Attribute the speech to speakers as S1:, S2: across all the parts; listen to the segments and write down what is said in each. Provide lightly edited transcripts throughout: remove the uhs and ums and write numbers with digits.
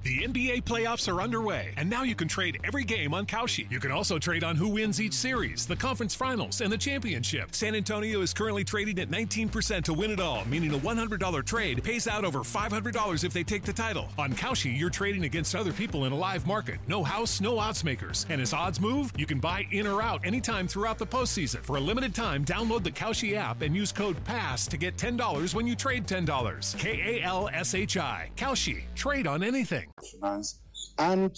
S1: The NBA playoffs are underway, and now you can trade every game on Kalshi. You can also trade on who wins each series, the conference finals, and the championship. San Antonio is currently trading at 19% to win it all, meaning a $100 trade pays out over $500 if they take the title. On Kalshi, you're trading against other people in a live market. No house, no odds makers. And as odds move, you can buy in or out anytime throughout the postseason. For a limited time, download the Kalshi app and use code PASS to get $10 when you trade $10. K A L S H I. Kalshi. Trade on anything.
S2: Finance and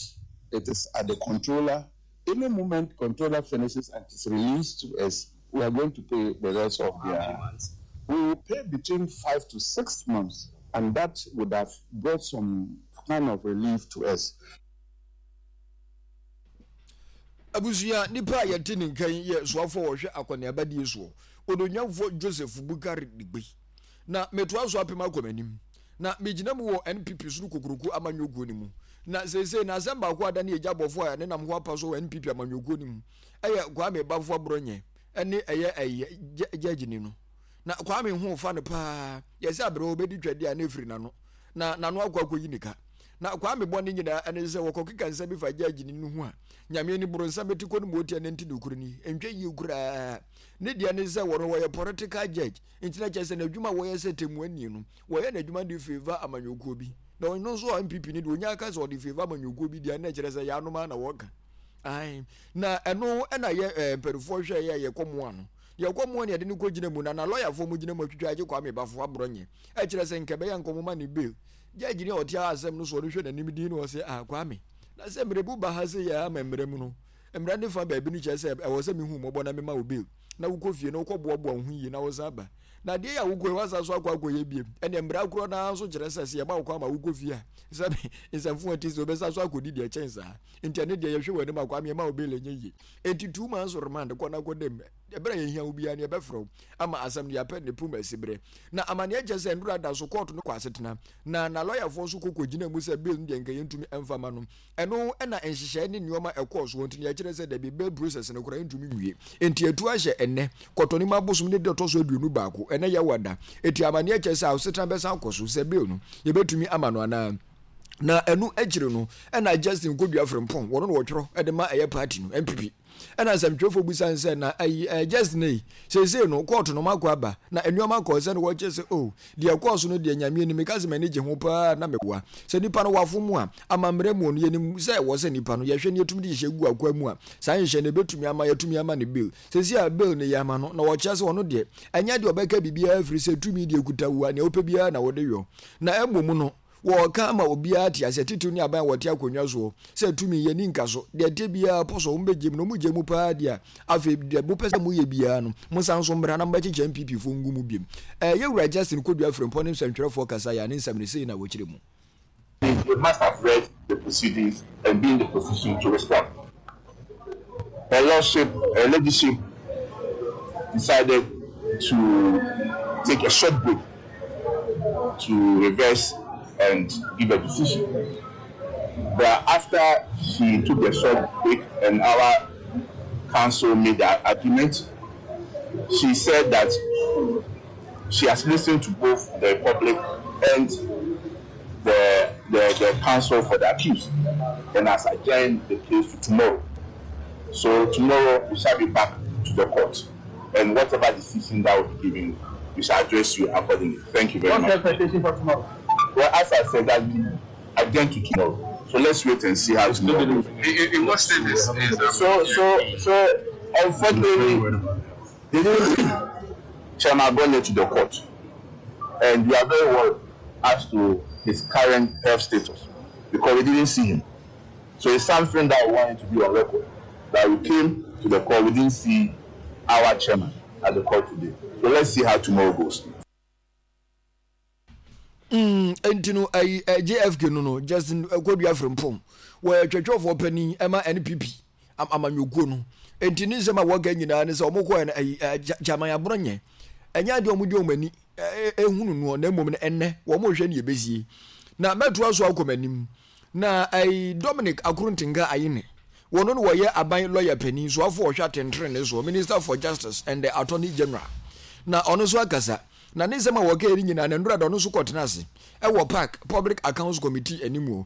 S2: it is at the controller. Any moment controller finishes and it's released to us, we are going to pay the rest of their We will pay between 5 to 6 months and that would have brought some kind of relief to us.
S3: Abusua nipa a yɛte ne nka yi yɛ soafoɔ a wɔhwɛ akɔneabadie soɔ, Odonwamfoɔ Joseph Bukari Digbe. Na metoa so apem akɔ m'anim. Na megyina mu wɔ NPP Soro Kokuroko amanyɔkuo no mu. Na seesei no asɛm baako a adane agya bɔfoɔ a ɛnenam ho apa so wɔ NPP amanyɔkuo no mu yɛ Kwame Baffour Aborɔnyɛ ne ɛyɛ ɛyɛ gyɛgyeni no. Na Kwame ho fa no paa. Yɛsɛ aberewa ɔbɛdi twɛdeɛ a na ɛfiri n'ano. Na n'ano akɔ akɔyi ne ka. Na Kwame bɔne nyinaa ɛne sɛ wɔkɔkeka nsɛm bi fa gyɛgyeni no ho a, Nyame ani boro nsa bɛti kɔ no mu ɔtia ne nti nokorɛ ni. Ɛntwa yie koraa. Ne deɛ ne sɛ wɔno wɔyɛ political judge. Nti na kyerɛ sɛ n'adwuma a wɔyɛ sɛ tɛmmuani no, wɔyɛ n'adwuma de favour amanyɔkuo bi. Na ɔno nso a NPP no deɛ ɔnya aka sɛ ɔde favour amanyɔkuo bi deɛ na kyerɛ sɛ yɛanom ara na wɔka. Ae. Na ɛno na yɛ eh, mpanimfoɔ hwɛ yɛ yɛkɔ mmoa no. Yɛkɔ mmoa no yɛde no kɔgyina mu na na lɔyafoɔ mu gyina mu atwitwa agye Kwame Bafo aborɔ nyɛ. Ɛkyerɛ sɛ nka ɛbɛyɛ nka ɔmo ne bail. Judge ni a ɔte asɛm no so ɔno hwɛ n'anim din na ɔsɛ ah Kwame. Na sɛ mmerɛbu ba ha sɛ yɛ ama mmerɛ mu no, mmara ne fa baabi no kyerɛ sɛ ɛwɔ sɛ mehu mmɔbɔ na mema wo bail. na wokɔ fie na wokɔboaboa wo ho yie na wosan ba. Na adeɛ yi a wokɔ yi woasan so akɔ akɔyɛ biem. Ɛnneɛ mmara korɔ no ara nso kyerɛ sɛ sɛ yɛma wo kwan ma wokɔ fie a, sɛ nsɛmfo a ɛte sɛ wobɛsan so akɔdi deɛ ɛkyɛn saa. Nti ɛno deɛ yɛhwɛ w'anim a Kwame yɛma wo bail ɛnyɛ yie. Enti 2 months remand kɔ na kɔda mu. Ɛberɛ a yɛhia wo biara no yɛbɛfrɛ wo ama asɛm no yɛapɛ ne pum asi berɛ. Na amaneɛ kyerɛ sɛ nnora da so kɔɔto no kɔ asetena na na lɔyafoɔ nso kɔ kɔgyina mu sɛ bail no deɛ nka yɛntumi mfa ma no. Ɛno na nhyehyɛe ne nneɛma ɛkɔɔ soɔ nti na yɛkyerɛ sɛ dabi bail process no koraa ntumi nwie. Enti atu ahyɛ ɛnnɛ, Kɔtɔnim abosom ne da ɛtɔ so 21, ɛnnɛ Yawa da. Enti amaneɛ kyerɛ sɛ asetena bɛsan akɔ so sɛ bail no yɛbɛtumi ama no anaa. Na ɛno akyiri no ɛna Justin Kodua Frimpong, wɔno na wɔtwerɛ de ma ɛyɛ party no, NPP. Ɛna nsɛmtwerɛfoɔ bisa no sɛ, na ayi ɛɛ Justin ei, seesei no kɔɔto no moakɔ aba, na nneɛma kɔɔ sɛ na wɔkyerɛ sɛ oh, deɛ ɛkɔɔ so no deɛ Nyame anim meka sɛ m'ani gye ho paa na meboa. Sɛ nipa no wafom mu a, amammerɛ mu no yɛnim sɛ ɛwɔ sɛ nipa no yɛhwɛ na yɛtumi de nhyehyɛe gu akwaa mu a, saa nhyehyɛe no ɛbɛtumi ama yɛatumi ama no bail. Seesei a bail no yɛ ama no, na wɔkyerɛ sɛ ɔno deɛ ɛnyɛ deɛ ɔbɛka biribiara ɛfiri sɛ tumi deɛ ɛkuta wo a nea wopɛ biara na wode yɔ. Na mmom no, Wɔreka ama obiara ate aseɛ, titiriw ne aban a wɔte akonnwa soɔ, sɛ tumi, yɛnni nka so. Deɛ ɛteɛ biara, pɔ so, wɔbɛgye mu, na wɔgye mu paa deɛ a, afei deɛ mopɛ sɛ moyɛ biara no, monsan nso mmra na mobɛkyekyɛ NPP foɔ ngu mu biom. Ɛɛ, Yɛwura Justin Kodua Frimpong ne nsɛntwerɛfoɔ kasaeɛ a ne nsɛm no, sei na wɔkyerɛ mu.
S4: They must have read the proceedings and be in the position to respond. Her Lordship, Her Ladyship decided to take a short break to reverse and give a decision. But after she took a short break and our counsel made the argument, she said that she has listened to both the public and the, the, the counsel for the accused and has adjourned the case to tomorrow. So tomorrow we shall be back to the court and whatever decision that will be given, we shall address you accordingly. Thank you very
S5: What's
S4: much.
S5: the expectation for tomorrow?
S4: Well, as I said, that we adjourned to tomorrow. So let's wait and see how tomorrow goes.
S6: In what state is
S4: So unfortunately, they didn't bring Chairman Abronye to the court, and we are very worried as to his current health status because we didn't see him. So it's something that we wanted to be on record, that we came to the court, we didn't see our chairman at the court today. So let's see how tomorrow goes.
S3: Enti no ayi eh, JFK no no Justin Kodua Frimpong wɔyɛ twɛtwɛfoɔ panin ɛma NPP amanyɔkuo no. Enti ne nsɛm a wɔka nyinaa ne sɛ wɔn kɔɛ no ayi eh, Chairman Aborɔnyɛ ɛnyɛ adeɛ wɔn de wɔn ani ehunu noɔ na mmom no ɛnnɛ wɔn rehwɛ ne yɛbɛsie. Na mɛtoa so akɔ m'anim na ayi Dominic Akrontinga Ayine wɔn no wɔyɛ aban lɔya panin soafoɔ ɔhwɛ atɛntrenee soɔ, Minister for Justice and the Attorney General, na ɔno nso akasa. Na ne nsɛm a wɔkae no nyinaa, na nnora da ɔno nso kɔtena ase wɔ PAC, Public Accounts Committee, anim o. Na.